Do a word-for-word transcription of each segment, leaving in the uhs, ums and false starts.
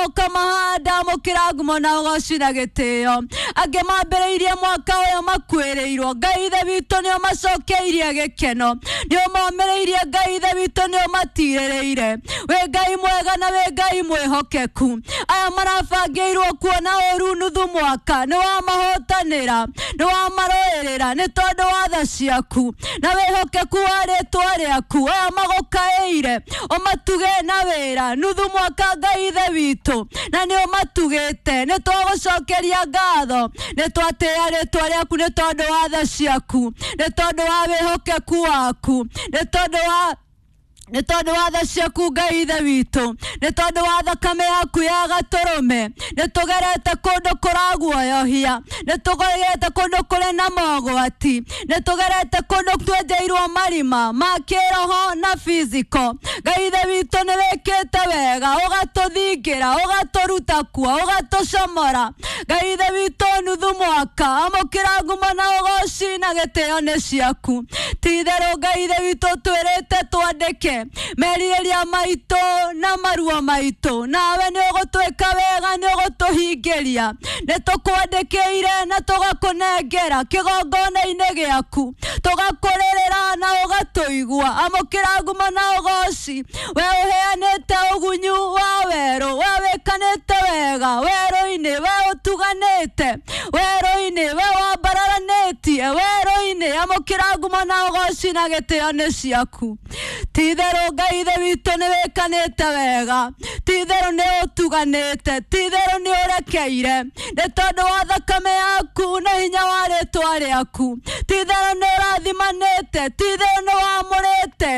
ũkamahanda amũkĩra ngumo na ũgoci na gĩtĩo angĩ mambĩrĩirie mwaka ũyũ makuĩrĩirwo Ngai Ithe witũ nĩ ũmacokeirie gĩkeno nĩ ũmomĩrĩirie Ngai Ithe witũ nĩ ũmatirĩrĩire wĩ Ngai mwega na wĩ Ngai mwĩhokeku aya marabangĩirwo kuona ũru nuthu mwaka nĩ wamahotanĩra nĩ wamarũĩrĩra nĩ tondũ wa tha ciaku na wĩhokeku wa rĩtwa rĩaku aya magũkaĩire ũmatuge na wĩra nuthu mwaka Ngai Ithe witũ na nĩ ũmatugĩte nĩ twagũcokeria ngatho nĩ twatĩĩa rĩtwa rĩaku nĩ tondũ wa tha ciaku nĩ tondũ wa wĩhokeku waku nĩ tondũ wa nĩ tondũ wa tha ciaku Ngai Ithe witũ nĩ tondũ wa thakame yaku ya gatũrũme nĩ tũgerete kũndũ kũraguoyohia nĩ tũgerete kũndũ kũrĩ na mogwati nĩ tũgerete kũndũ twenjeirwo marima ma kĩroho na physical Ngai Ithe witũ nĩ wĩkĩte wega ũgatũthingĩra ũgatũruta kuo ũgatũcomora Ngai Ithe witũ nuthu mwaka amũkĩra ngumo na ũgoci na gĩtĩo nĩ ciaku ti-itherũ Ngai Ithe witũ twĩrĩte twandĩke merirĩria maitũ na maruo maitũ nawe nĩ ũgũtwĩka wega nĩ ũgũtũhingĩria nĩ tũkwandĩkĩire na tũgakũnengera kĩgongona-inĩ gĩaku tũgakũrĩrĩra na ũgatũigua amũkĩra ngumo na ũgoci we ũheanĩte ũgunyu wa werũ we wĩkanĩte wega werũ-inĩ we ũtuganĩte werũ-inĩ we wambararanĩtie werũ-inĩ amũkĩra ngumo na ũgoci na gĩtĩo nĩ ciaku ti-itherũ Ngai Ithe witũ nĩ wĩkanĩte wega ti-itherũ nĩ ũtuganĩte ti-itherũ nĩ ũrekeire nĩ tondũ wa thakame yaku na hinya wa rĩtwa rĩaku ti-itherũ nĩ ũrathimanĩte ti-itherũ nĩ wamũrĩte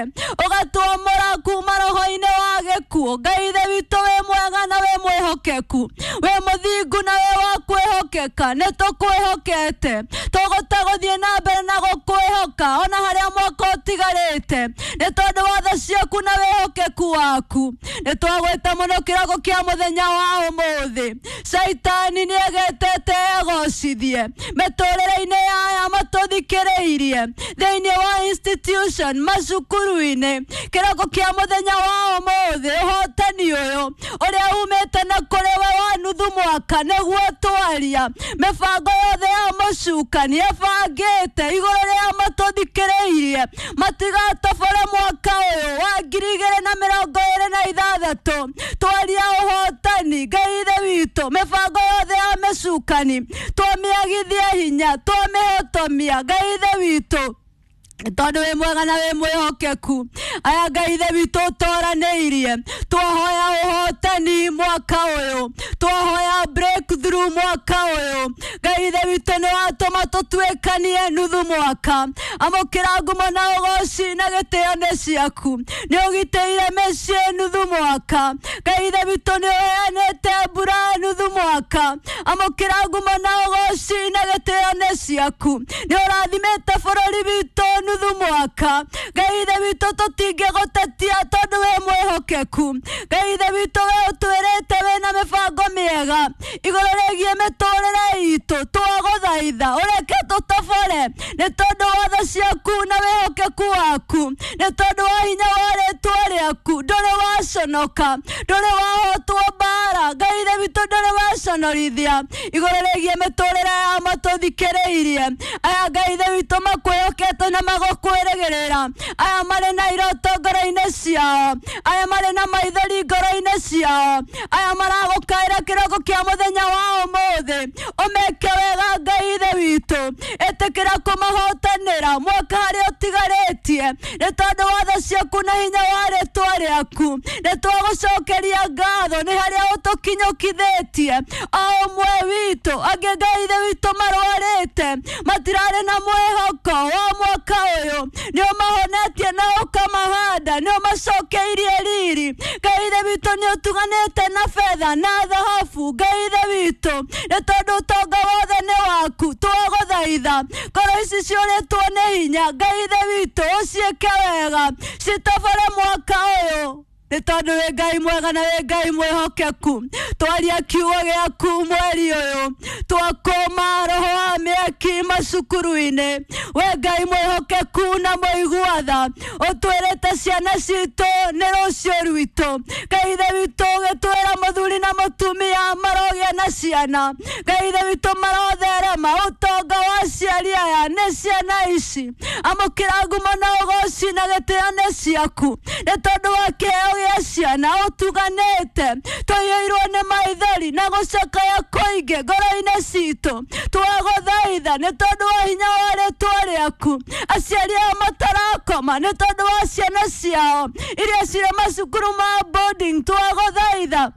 ũgatwamũra kuma roho-inĩ wa gĩkuũ Ngai Ithe witũ wĩ mwega na wĩ mwĩhokeku wĩ mũthingu na wĩ wa kwĩhokeka nĩ tũkwĩhokete tũgũta gũthiĩ na mbere na gũkwĩhoka ona harĩa mwaka ũtigarĩte nĩ tondũ wa tha ciaku na wĩhokeku waku nĩ twagwĩta mũno kĩroko kĩa mũthenya wa ũmũthĩ caitani nĩ egetete egocithie mĩtũrĩre-inĩ ya aya matũthikĩrĩirie thĩinĩ wa institution macukuru-inĩ kĩroko kĩa mũthenya wa ũmũthĩ ũhotani ũyũ ũrĩa umĩte na kũrĩ we wa nuthu mwaka nĩguo twaria mĩbango yothe ya mũcukani ĩbangĩte igũrũ rĩa matũthikĩrĩirie matigatobore mwaka ũyũ wa ngiri igĩrĩ na mĩrongo ĩrĩ na ithathatũ twaria ũhotani Ngai Ithe witũ mĩbango yothe ya mĩcukani twamĩagithia hinya twamĩhotomia Ngai Ithe witũ tondũ wĩ mwega na wĩ mwĩhokeku aya Ngai Ithe witũ ũtoranĩirie twahoya ũhotani mwaka ũyũ twahoya breakthrough mwaka ũyũ Ngai Ithe witũ nĩ watũma tũtuĩkanie nuthu mwaka amũkĩra ngumo na ũgoci na gĩtĩo nĩ ciaku nĩ ũgitĩire mĩciĩ nuthu mwaka Ngai Ithe witũ nĩ ũheanĩte mbura nuthu mwaka amũkĩra ngumo na ũgoci na gĩtĩo nĩ ciaku nĩ ũrathimĩte bũrũri witũ nuthu mwaka Ngai Ithe witũ tũtingĩgũtetia tondũ wĩ mwĩhokeku Ngai Ithe witũ we ũtwĩrĩte wĩna mĩbango mĩega igũrũ rĩgiĩ mĩtũrĩre itũ twagũthaitha ũreke tũtobore nĩ tondũ wa tha ciaku na wĩhokeku waku nĩ tondũ wa hinya wa rĩtwa rĩaku ndũrĩ waconoka ndũrĩ wahotwo mbara Ngai Ithe witũ ndũrĩ waconorithia igũrũ rĩgiĩ mĩtũrĩre ya matũthikĩrĩirie aya Ngai Ithe witũ makwĩhokete na magũkwĩrĩgĩrĩra aya marĩ na iroto ngoro-inĩ ciao aya marĩ na maithori ngoro-inĩ ciao aya maragũkaĩra kĩroko kĩa mũthenya wa ũmũthĩ ũmeke wega Ngai Ithe witũ ĩtĩkĩra kũmahotanĩra mwaka harĩa ũtigarĩtie nĩ tondũ wa tha ciaku na hinya wa rĩtwa rĩaku nĩ twagũcokeria ngatho nĩ harĩa ũtũkinyũkithĩtie o ũmwe witũ angĩ Ngai Ithe witũ marwarĩte matirarĩ na mwĩhoko wa mwaka ũyũ nĩ ũmahonetie na ũkamahanda nĩ ũmacokeirie riri Ngai Ithe witũ nĩ ũtuganĩte na betha na thahabu Ngai Ithe witũ nĩ tondũ ũtonga wothe nĩ waku twagũthaitha ngoro ici ciũrĩtwo nĩ hinya Ngai Ithe witũ ũciĩke wega citobore mwaka ũyũ Nĩ tondũ wĩ Ngai mwega na wĩ Ngai mwĩhokeku. Twaria kiugo gĩaku mweri ũyũ, twakũma roho wa mĩaki macukuru-inĩ. We Ngai mwĩhokeku na mũigua tha, ũtwĩrĩte ciana citũ nĩ rũciũ rwitũ. Ngai Ithe witũ ũgĩtwĩra mũthuri na mũtumia marogĩa na ciana. Ngai Ithe witũ marotherema ũtonga wa aciari aya nĩ ciana ici. Amũkĩra ngumo na ũgoci na gĩtĩo nĩ ciaku, nĩ tondũ wa kĩheo gĩa ciana ũtuganĩte. Tũiyũirwo nĩ maithori na gũcakaya kũingĩ ngoro-inĩ citũ. Twagũthaitha nĩ tondũ wa hinya wa rĩtwa rĩaku. Aciari aya matarakoma nĩ tondũ wa ciana ciao iria cirĩ macukuru ma boarding. Twagũthaitha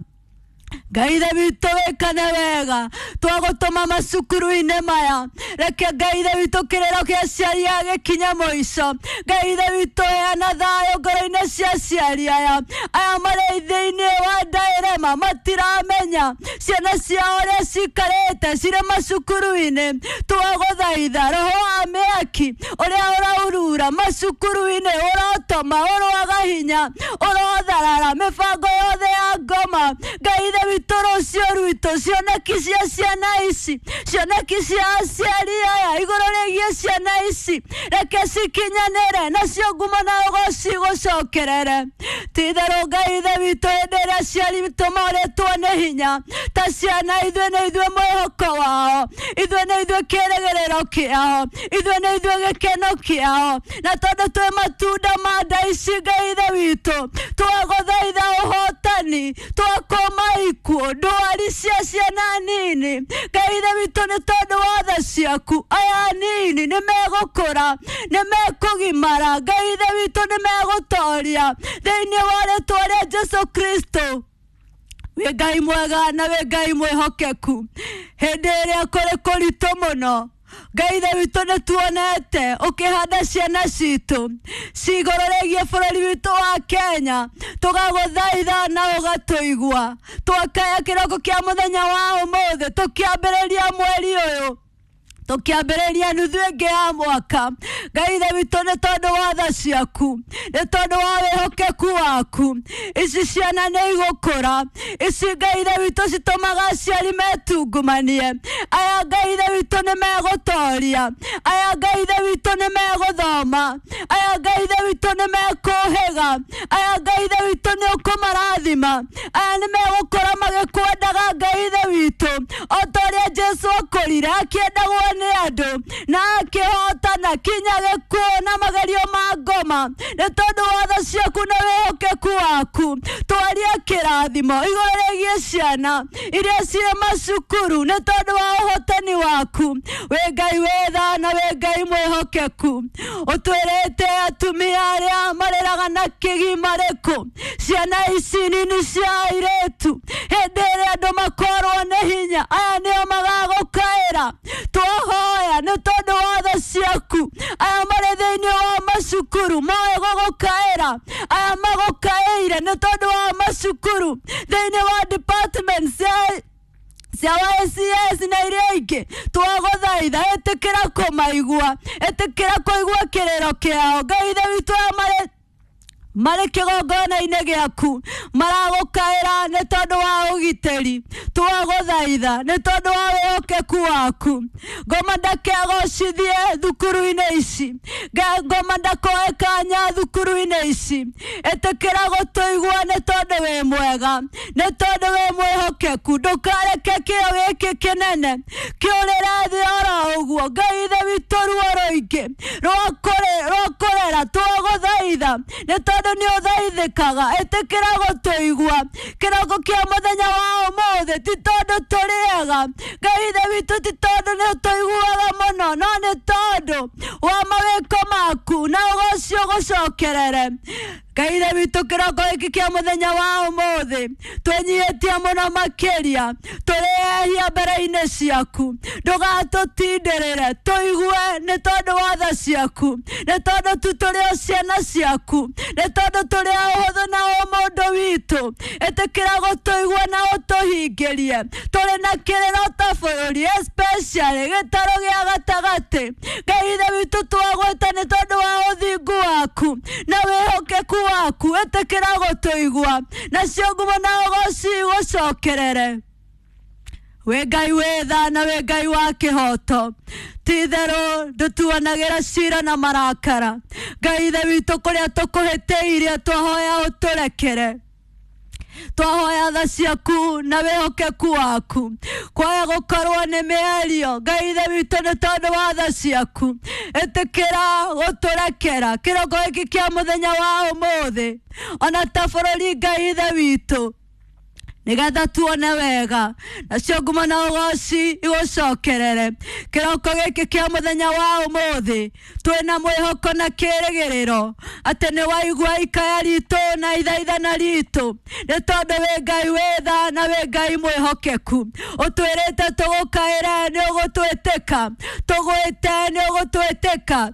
Ngai Ithe witũ wĩkane wega, twagũtũma macukuru-inĩ maya. Reke Ngai Ithe witũ kĩrĩro kĩa aciari aya gĩkinye mũico. Ngai Ithe witũ heana thayũ ngoro-inĩ cia aciari aya. Aya marĩ thĩinĩ wa ndaĩrema matiramenya ciana ciao ũrĩa cikarĩte cirĩ macukuru-inĩ. Twagũthaitha roho wa mĩaki ũrĩa ũraurura macukuru-inĩ, ũrotoma, ũroaga hinya, ũrotharara mĩbango yothe ya ngoma. Ngai Ithe witũ rũciũ rwitũ, cioneki cia ciana ici, cioneki cia aciari aya igũrũ rĩgiĩ ciana ici, reke cikinyanĩre nacio ngumo na ũgoci gũcokerere. Ti-itherũ Ngai Ithe witũ, hĩndĩ ĩrĩa aciari witũ morĩtwo nĩ hinya ta ciana, ithuĩ nĩ ithuĩ mwĩhoko wao, ithuĩ nĩ ithuĩ kĩĩrĩgĩrĩro kĩao, ithuĩ nĩ ithuĩ gĩkeno kĩao. Na tondũ twĩ matunda ma nda ici, Ngai Ithe witũ, twagũthaitha ũhotani, twakũma ikuũ ndwari cia ciana nini. Ngai Ithe witũ, nĩ tondũ wa tha ciaku, aya nini nĩ megũkũra, nĩ mekũgimara. Ngai Ithe witũ, nĩ megũtoria thĩinĩ wa rĩtwa rĩa Jesũ Kristo. Wĩ Ngai mwega na wĩ Ngai mwĩhokeku. Hĩndĩ ĩrĩa kũrĩ kũritũ mũno, Ngai Ithe witũ, nĩ tuonete ũkĩhanda ciana citũ cigũrũ rĩgiĩ bũrũri witũ wa Kenya. Tũgagũthaitha na ũgatũigua. Twakaya kĩroko kĩa mũthenya wa ũmũthĩ, tũkĩambĩrĩria mweri ũyũ, tũkĩambĩrĩria nuthu ĩngĩ ya mwaka. Ngai Ithe witũ, nĩ tondũ wa tha ciaku, nĩ tondũ wa wĩhokeku waku, ici ciana nĩ igũkũra. Ici Ngai Ithe witũ citũmaga aciari metungumanie. Aya Ngai Ithe witũ nĩ megũtoria. Aya Ngai Ithe witũ nĩ megũthoma. Aya Ngai Ithe witũ nĩ mekũhĩga. Aya Ngai Ithe witũ nĩ ũkũmarathima. Aya nĩ megũkũra magĩkwendaga Ngai Ithe witũ, o ta ũrĩa Jesũ akũrire akĩendagwo nĩ andũ na akĩhotana kinya gĩkuũ na magerio ma ngoma. Nĩ tondũ wa tha ciaku na wĩhokeku waku, twaria kĩrathimo igũrũ rĩgiĩ ciana iria cirĩ macukuru, nĩ tondũ wa ũhotani waku. Wĩ Ngai wĩ tha na wĩ Ngai mwĩhokeku. Ũtwĩrĩte atumia arĩa marĩraga na kĩgi marĩkũ, ciana ici nini cia airĩtu, hĩndĩ ĩrĩa andũ makorwo nĩ hinya, aya nĩo magagũkaĩra. Twahoya nĩ tondũ wa tha ciaku, aya marĩ thĩinĩ wa macukuru moĩ gũgũkaĩra, aya magũkaĩire nĩ tondũ wa macukuru thĩinĩ wa department cia cia Y C S na iria ingĩ. Twagũthaitha, ĩtĩkĩra kũmaigua, ĩtĩkĩra kũigua kĩrĩro kĩao. Ngai Ithe witũ, aya marĩ marĩ kĩgongona-inĩ gĩaku maragũkaĩra nĩ tondũ wa ũgitĩri. Twagũthaitha nĩ tondũ wa wĩhokeku waku. Ngoma ndakegocithie thukuru-inĩ ici, ngoma ndakoe kanya thukuru-inĩ ici. Ĩtĩkĩra gũtũigua nĩ tondũ wĩ mwega, nĩ tondũ wĩ mwĩhokeku. Ndũkareke kĩo gĩkĩ kĩnene kĩũrĩre thĩ oro ũguo. Ngai Ithe witũ, ruo rũingĩ rwa kũrera, twagũthaitha nĩ tondũ nĩ ũthaithĩkaga. Ĩtĩkĩra gũtũigua kĩroko kĩa mũthenya wa ũmũthĩ. Ti tondũ tũrĩ ega, Ngai Ithe witũ, ti tondũ nĩ ũtũiguaga mũno, no nĩ tondũ wa mawĩko maku na ũgoci ũgũcokerere. Ngai Ithe witũ, kĩroko gĩkĩ kĩa mũthenya wa ũmũthĩ twĩnyihĩtie mũno makĩria, tũrĩ ehia mbere-inĩ ciaku. Ndũgatũtindĩrĩre, tũigue nĩ tondũ wa tha ciaku, nĩ tondũ tu tũrĩ o ciana ciaku, nĩ tondũ tũrĩ a ũhũthũ na ũmũndũ witũ. Ĩtĩkĩra gũtũigua na ũtũhingĩrie. Tũrĩ na kĩrĩro ta bũrũri, especially gĩtarũ gĩa gatagatĩ. Ngai Ithe witũ, twagwĩta nĩ tondũ wa ũthingu waku na wĩhokeku waku ĩtĩkĩra gũtũigua nacio ngumo na ũgoci igũcokerere. Wĩ Ngai wĩ tha na wĩ Ngai wa kĩhoto, ti-itherũ ndũtuanagĩra cira na marakara. Ngai Ithe witũ, kũrĩa tũkũhĩtĩirie twahoya ũtũrekere, twahoya tha ciaku na wĩhokeku waku. Kwaya gũkorwo nĩ mĩario, Ngai Ithe witũ, nĩ tondũ wa tha ciaku ĩtĩkĩra gũtũrekera kĩroko gĩkĩ kĩa mũthenya wa ũmũthĩ, ona ta bũrũri Ngai Ithe witũ, nĩgetha tuone wega nacio ngumo na ũgoci igũcokerere. Kĩroko gĩkĩ kĩa mũthenya wa ũmũthĩ twĩna mwĩhoko na kĩrĩgĩrĩro atĩ nĩ waigua ikaya ritũ na ithaithana ritũ, nĩ tondũ wĩ Ngai wĩ tha na wĩ Ngai mwĩhokeku. Ũtwĩrĩte tũgũkaĩre nĩ ũgũtwĩtĩka, tũgwĩte nĩ ũgũtwĩtĩka.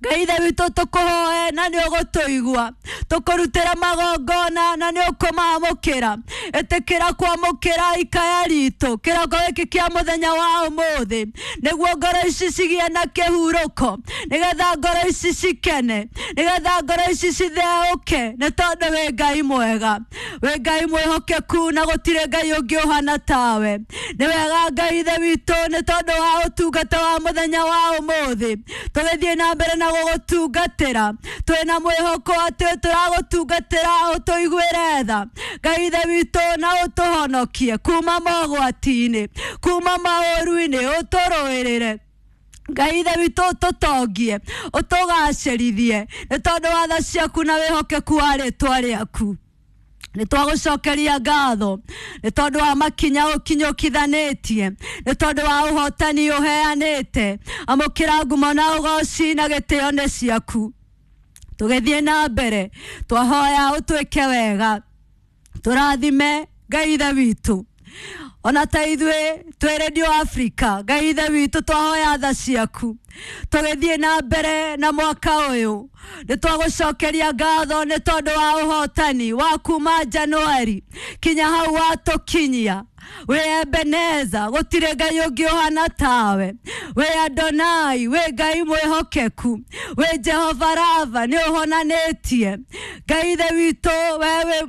Ngai Ithe witũ, tũkũhoe na nĩ ũgũtũigua, tũkũrutĩra magongona na nĩ ũkũmamũkĩra. Ĩtĩkĩra kwamũkĩra ikaya ritũ kĩroko gĩkĩ kĩa mũthenya wa ũmũthĩ, nĩguo ngoro ici cigĩe na kĩhurũko, nĩgetha ngoro ici cikene, nĩgetha ngoro ici citheũke, nĩ tondũ wĩ Ngai mwega, wĩ Ngai mwĩhokeku na gũtirĩ Ngai ũngĩ ũhana tawe. Nĩ wega Ngai Ithe witũ, nĩ tondũ wa ũtungata wa mũthenya wa ũmũthĩ tũgĩthiĩ na mbere na gũgũtungatĩra, twĩna mwĩhoko atĩ tũragũtungatĩra ũtũiguĩre tha Ngai Ithe witũ, na ũtũhonokie kuma mogwati-inĩ, kuma maũru-inĩ, ũtũrũĩrĩre Ngai Ithe witũ, ũtũtongie, ũtũgacĩrithie, nĩ tondũ wa tha ciaku na wĩhokeku wa rĩtwa rĩaku. Nĩ twagũcokeria ngatho nĩ tondũ wa makinya ũkinyũkithanĩtie, nĩ tondũ wa ũhotani ũheanĩte. Amũkĩra ngumo na ũgoci na gĩtĩo nĩ ciaku. Tũgĩthiĩ na mbere twahoya ũtwĩke wega, tũrathime Ngai Ithe witũ, ona ta ithuĩ twĩ Radio Africa. Ngai Ithe witũ, twahoya tha ciaku tũgĩthiĩ na mbere na mwaka ũyũ. Nĩ twagũcokeria ngatho nĩ tondũ wa ũhotani wa kuma Januari kinya hau watũkinyia. Wĩ Ebeneza, gũtirĩ Ngai ũngĩ ũhana tawe. Wĩ Adonai, wĩ Ngai mwĩhokeku. Wĩ Jehova Rava, nĩ ũhonanĩtie. Ngai Ithe witũ, wewe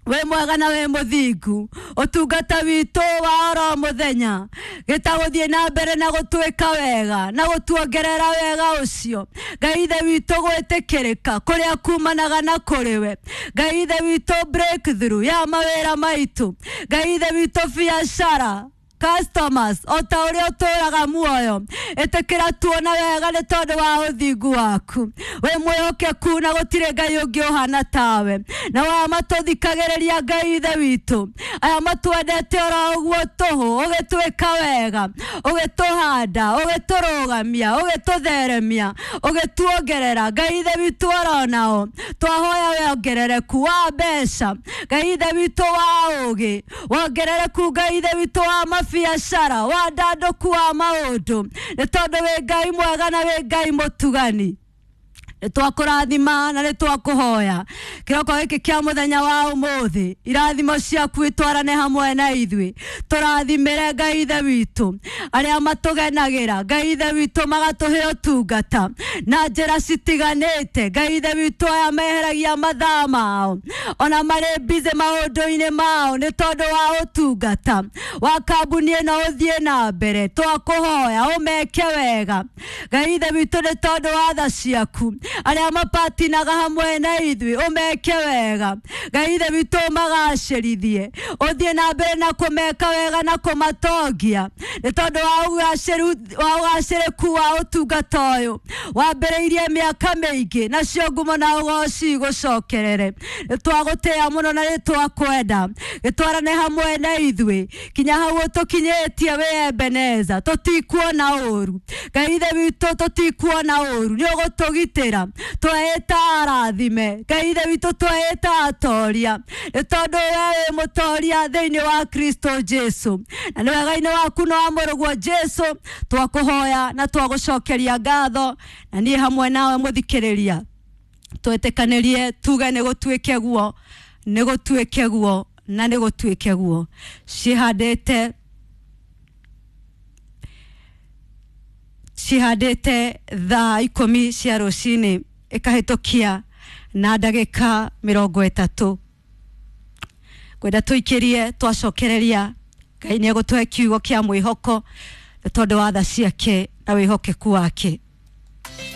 wĩ mwega na wĩ mũthingu. Ũtungata witũ wa oro mũthenya gĩtagũthiĩ na mbere na gũtwĩka wega na gũtuongerera wega ũcio, Ngai Ithe witũ, gwĩtĩkĩrĩka kũrĩa kumanaga na kũrĩ we, Ngai Ithe witũ, breakthrough ya mawĩra maitũ, Ngai Ithe witũ, biacara, customers, o ta ũrĩa ũtũraga muoyo, ĩtĩkĩra tuona wega nĩ tondũ wa ũthingu waku. Wĩ mwĩhokeku na gũtirĩ Ngai ũngĩ ũhana tawe. Na wa matũthikagĩrĩria, Ngai Ithe witũ, aya matwendete oro ũguo tũhũ, ũgĩtwĩka wega, ũgĩtũhanda, ũgĩtũrũgamia, ũgĩtũtheremia, ũgĩtuongerera, Ngai Ithe witũ, oro nao twahoya wongerereku wa mbeca, Ngai Ithe witũ, wa ũgĩ, wongerereku, Ngai Ithe witũ, wa mabiacara, wa ndandũku wa maũndũ, nĩ tondũ wĩ Ngai mwega na wĩ Ngai mũtugani. Nĩ twakũrathima na nĩ twakũhoya kĩroko gĩkĩ kĩa mũthenya wa ũmũthĩ, irathimo ciaku itwarane hamwe na ithuĩ. Tũrathimĩre, Ngai Ithe witũ, arĩa matũgenagĩra, Ngai Ithe witũ, magatũhe ũtungata na njĩra citiganĩte. Ngai Ithe witũ, aya meheragia mathaa mao ona marĩ busy maũndũ-inĩ mao nĩ tondũ wa ũtungata wa kambuni ĩno ũthiĩ na mbere, twakũhoya ũmeke wega, Ngai Ithe witũ, nĩ tondũ wa tha ciaku. Arĩa mapatinaga hamwe na ithuĩ, ũmeke wega, Ngai Ithe witũ, ũmagacĩrithie, ũthiĩ na mbere na kũmeka wega na kũmatongia, nĩ tondũ wa ũgacĩru wa ũgacĩrĩku wa ũtungata ũyũ wambĩrĩirie mĩaka mĩingĩ. Nacio ngumo na ũgoci igũcokerere. Nĩ twagũtĩĩa mũno na nĩ twakwenda. Gĩtwarane hamwe na ithuĩ kinya hau ũtũkinyĩtie. Wĩ Ebeneza, tũtikuona ũru, Ngai Ithe witũ, tũtikuona ũru, nĩ ũgũtũgitĩra. Tweĩta arathime, Ngai Ithe witũ, tweĩta atoria, nĩ tondũ we wĩ mũtoria thĩinĩ wa Kristo Jesu, na nĩ wega-inĩ waku na wa mũrũguo Jesu twakũhoya na twagũcokeria ngatho. Na niĩ hamwe nawe mũthikĩrĩria twĩtĩkanĩrie tuge nĩ gũtuĩke guo, nĩ gũtuĩke guo, na nĩ gũtuĩke guo. Cihandĩte cihandĩte thaa ikũmi cia rũcinĩ ĩkahĩtũkia na ndagĩka mĩrongo ĩtatũ. Ngwenda tũikĩrie twacokereria Ngai nĩ egũtũhe kiugo kĩa mwĩhoko nĩ tondũ wa tha ciake na wĩhokeku wake.